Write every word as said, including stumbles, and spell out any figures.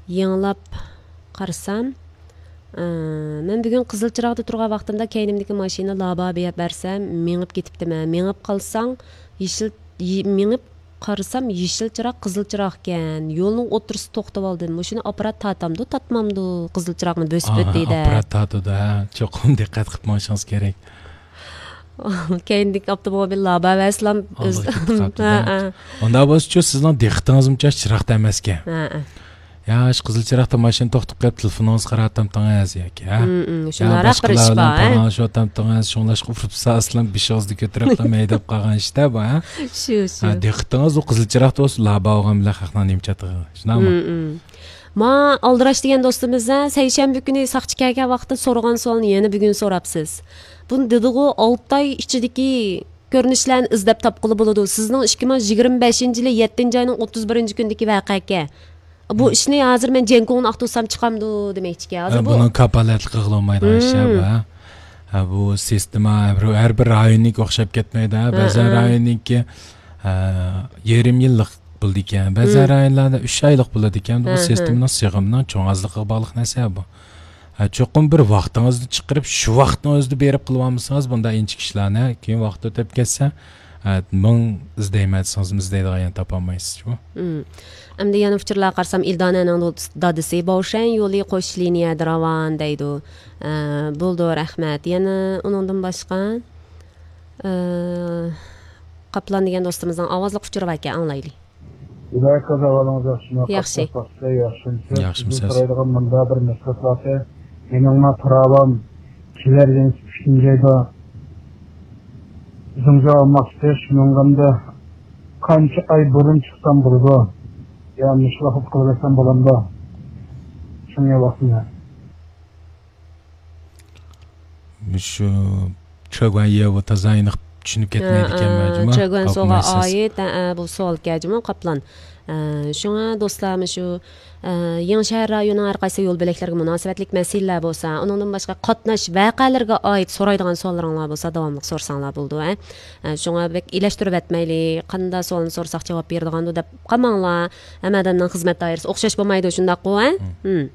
يېڭىلاپ قارىسام، ئى، مەن بۈگۈن قىزىل چىراغدا تۇرغان ۋاقتىمدا كەينىمدىكى ماشىنا لابا بەرسەم، مېڭىپ كېتىپتىمەن. مېڭىپ قالساڭ، يېشىل، يې-، مېڭىپ قارىسام، يېشىل چىراغ، قىزىل چىراغكەن. يولنىڭ ئوتتۇرىسىدا توختىۋالدىم. مۇشۇنى ئاپپارات تارتامدۇ، تارتمامدۇ؟ قىزىل چىراغنى بۆسۈپ ئۆتتى دەپ. ئاپپارات تارتىدۇ، ھە. چوقۇم دىققەت قىلىپ مېڭىشىڭىز كېرەك. كەينىدىكى ئاپتوموبىل لابا بەرسىلام ئۆز. ئالدىغا كېتىپ قاپتۇ-دە. ھە، ھە. ئۇنداق بولسىچۇ، سىزنىڭ دىققىتىڭىزمۇ چاش چىراغدا ئەمەسكەن. ھە، ھە. يا، شۇ قىزىل چىراغدا ماشىنا توختاپ قېلىپ، تېلېفونىڭىزغا قاراۋاتامتىڭىز ياكى، ھە؟ ھىم، ھىم. يا، شۇنداقراق بىر ئىش بار، ھە؟ پاراڭلىشىۋاتامتىڭىز، شۇڭلاشقا ئۇرۇپ سالسىلام بېشىڭىزدا كۆتۈرۈپلا ھەيدەپ قالغان ئىش-دە بۇ، ھە؟ شۇ، شۇ. ھە، دىققىتىڭىز ئۇ قىزىل چىراغدا بولسا، لابا بولغان بىلەن خەقنىڭ نېمە چاتىقىغا، شۇنداقمۇ؟ ھىم، ھىم. ما، ئالدىراش دېگەن دوستىمىز، ھە، سەيشەنبە كۈنى ساقچى كەلگەن ۋاقىتتا سورىغان سوئالنى يەنە بۈگۈن سوراپسىز. بۇنى دېدىغۇ، ئالتە ئاي ئىچىدىكى كۆرۈنۈشلەرنى ئىزدەپ تاپقىلى بولىدۇ. سىزنىڭ ئىككى مىڭ يىگىرمە بەشىنچى يىلى يەتتىنچى ئاينىڭ ئوتتۇز بىرىنچى كۈنىدىكى ۋەقەكەن. بۇ ئىشنى ھازىر مەن جيەنگوڭنى ئاختۇرسام چىقامدۇ دېمەكچىكەن. ھازىر ھە، بۇ بۇنىڭ كاپالەتلىك قىلغىلى بولمايدىغان ئىش، ھە، بۇ، ھە. ھە، بۇ سىستېما ھەر بىر، ھەر بىر رايوننىڭكى ئوخشاپ كەتمەيدۇ، ھە. ھە، بەزەن ھە. رايوننىڭكى، ھە، يېرىم يىللىق بولىدىكەن، بەزەن رايونلاردا ئۈچ ئايلىق بولىدىكەن. بۇ ھە، ھە. سىستېمىنىڭ سىغىمىنىڭ چوڭ ئازلىقىغا باغلىق نەرسە بۇ. ھە، چوقۇم بىر ۋاقتىڭىزنى چىقىرىپ، شۇ ۋاقىتنىڭ ئۆزىدە بېرىپ قىلىۋالمىسىڭىز، بۇنداق ئىنچىكە ئىشلارنى كېيىن ۋاقىت ئۆتۈپ كەتسە، ھە، مىڭ ئىزدەيمەن دېسىڭىزمۇ ئىزدەيدىغان يەرنى تاپالمايسىزچۇ. مم. ئەمدى يەنە ئۇچۇرلارغا قارىسام، ئىلدانەنىڭ دادىسى باۋشەن يولى قوش لىنىيەدە راۋان دەيدۇ. ئە، بولىدۇ، رەھمەت. يەنە ئۇنىڭدىن باشقا، ئە، قاپلان دېگەن دوستىمىزنىڭ ئاۋازلىق ئۇچۇرى باركەن، ئاڭلايلى. ھىدايەت قازا، ئەھۋالىڭىز ياخشىمۇ؟ ياخشى. قاتناش بەخشى، ياخشىمۇ؟ ياخشىمۇ سىزدىن سىز؟ سورايدىغان مۇندا بىر مەسىلە بار. مېنىڭلا پىراۋام كېلەر يىلى ئۈچىنچى ئايدا زۇڭزا ئالماقچى، شۇنىڭغا قانچە ئاي بۇرۇن چىقسام بولىدۇ؟ يا مۇشۇ ۋاقىت قىلىۋەرسەم بولامدۇ؟ شۇڭا ۋاقتىنى. مۇشۇ چۆگۈەن يېۋۇ تازا ئېنىق چۈشىنىپ كەتمەيدىكەنمەن، ھە، جۇمۇ. چۆگۈەن سوغا ئايت، ھە، ھە، بۇ سوئالكەن، جۇمۇ، قاپلان. ھە، شۇڭا دوستلار، مۇشۇ، ھە، يېڭى شەھەر رايونىنىڭ ھەر قايسى يول بۆلەكلىرىگە مۇناسىۋەتلىك مەسىلىلەر بولسا، ئۇنىڭدىن باشقا قاتناش ۋەقەلىرىگە ئائىت سورايدىغان سوئاللىرىڭلار بولسا، داۋاملىق سورىساڭلار بولىدۇ، ھە. ھە، شۇڭا بەك ئېلەشتۈرۈۋەتمەيلى، قانداق سوئالنى سورىساق جاۋاب بېرىدىغاندۇ دەپ قالماڭلار. ھەممە ئادەمنىڭ خىزمەت دائىرىسى ئوخشاش بولمايدۇ، شۇنداققۇ، ھە؟ ھىم.